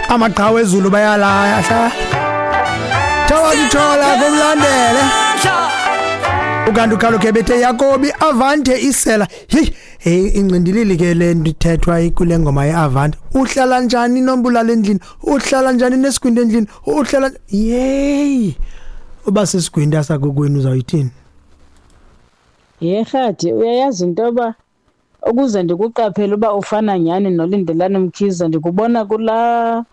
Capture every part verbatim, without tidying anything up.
Amaqhawe ezulu bayalahla. Thawathola kumlandele. Ukanti ukhalo ke bethe Yakobi Avante isela. Hey, hey, incindilili ke le ndithethwa kule ngoma yeAvante. Uhlala njani nombulala endlini? Uhlala njani nesigwinto endlini? Uhlala, yey. Uba sesigwinto sakokwenu uzawuyithini? Yerhadi, uyayazi into yoba ukuze ndikuqaphele uba ufana nyhani noLindelani Mkhize, ndikubona kulaa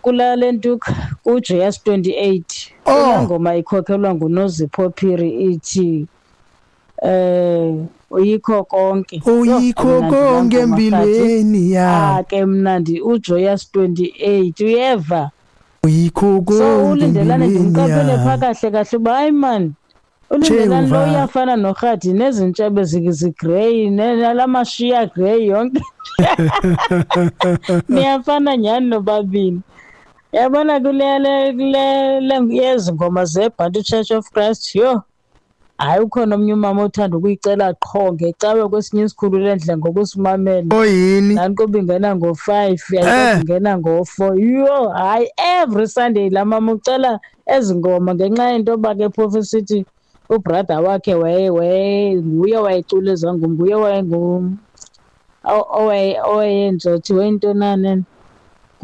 kulaa le ntuka kuJoyous twenty-eight. Oh. Kulaa ngoma ikhokhelwa nguNozipho Phiri ithi eh uyikho konke. Uyikho Yho, mnandi laa konke ngoma, Rhadi. empilweni yam. Ah, ke mnandi uJoyous twenty-eight, uyeva? Uyikho So konke uLindelani empilweni ndimqaphele phaa yam. kahle kahle uba hayi mani, uLindelani lo Jehova. uyafana noRhadi, nezintshebe zigrey, nalamashiya grey yonke. Niyafana nyhani nobabini. Yabona kule le kule le yezi ngoma zeBantu Church of Christ, yho. Hayi, ukhona omnye umama othanda ukuyicela qho ngecawe kwesinye isikhulu lendlela ngokusimamela. Oyini? Nani kuba ingena ngo-five, Eh. ingena ngo-four. Yho, hayi, every Sunday laa mama ucela ezi ngoma ngenxa yento yoba ke phofu esithi ubrother wakhe waye waye nguye wayecula ezaa ngoma, nguye wayengu owaye owayenza thi wayintonane.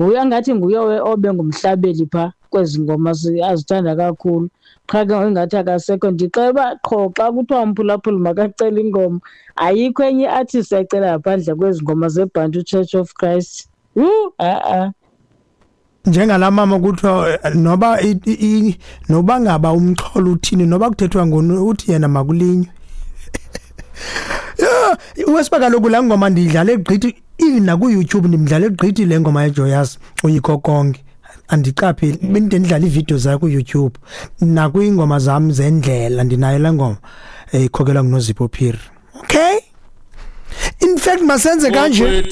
Nguye angathi nguye obe ngumhlabeli phaa kwezi ngoma azithanda kakhulu. Qha ke ingathi akasekho. Ndixela uba qho xa kuthiwa umphulaphuli makacele ingoma, ayikho enye i-artist ayicela ngaphandle kwezi ngoma zeBantu Church of Christ. Yhu, ha-a. Njengala mama kuthiwa eh, noba i- i- noba ngaba umxholo uthini, noba kuthethwa ngoni, uthi yena makulinywe. Yeah, uwesiba kaloku laa ngoma ndiyidlale gqithi, even naku-YouTube ndimdlale gqithi le ngoma yeJoyous uyikho konke. Andiqapheli, bendide ndidlala iividiyo zayo ku-YouTube nakwiingoma zam zendlela, ndinayo laa ngoma ikhokelwa nguNozipho Phiri. Okay, in fact masenze kanje.